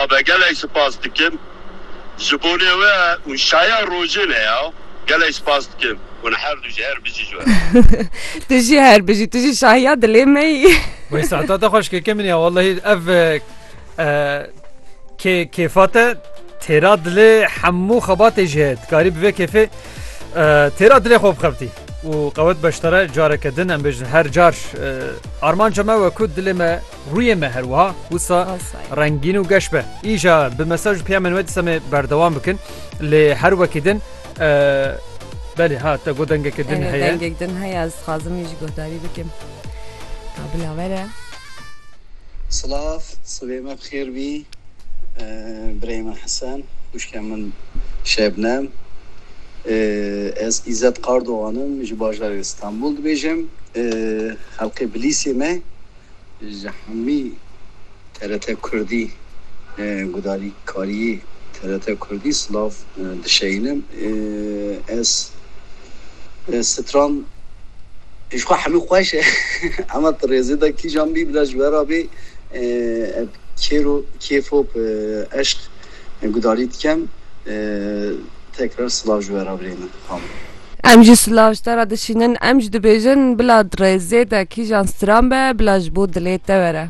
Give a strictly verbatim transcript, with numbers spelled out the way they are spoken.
Abi gelek spas dikim. Ji bonê we û şaya rojê ne ya. Gelek spas dikim. Hûn her du jî her bijî ji we. Tu jî her bijî, tu jî şahiya dilê me yî. Wê saeta te xweş keke min ya, wallahî ev e, e, kê, kêfa te têra dilê hemû xebatê jî heye. Dikarî bi vê kêfê e, têra dilê xwe bixebitî. Û qewet beştare careke din em bêjin her car e, armanca me we ku dilê me, rûyê me her wiha wisa Asay. rengîn û geş be. Îja bi mesaj û piyamên we dîsa me berdewam bikin. Lê her wekî din e, belê ha te got dengeke din Erê, heye. Dengek din heye, ez dixwazim wî jî guhdarî bikim. Ka bila were. Silav, sibê me bi xêr bî. Ee, birê me Hesen, xwişkê min Şebnem. Ee, ez Îzzet Qardoğan im, ji bajarê Stenbol dibêjim. Ee, xelkê Bilîsê me ji hemî T R T Kurdî, e, gudarîkariyê T R T Kurdî silav, e, dişeyînim. E, ez, e, stran ji xwe hemî xweş e. Ema tu rêzê de kîjan bî bila ji we re bê, e, ev kêro, kêfop, e, eşq, e, gudarî dikem. E, tekrar silav ji we re birê min. Tamam. Em jî silav ji te re dişînin, em jî dibêjin bila di rêzê de kîjan stran be, bila ji bo dilê te were.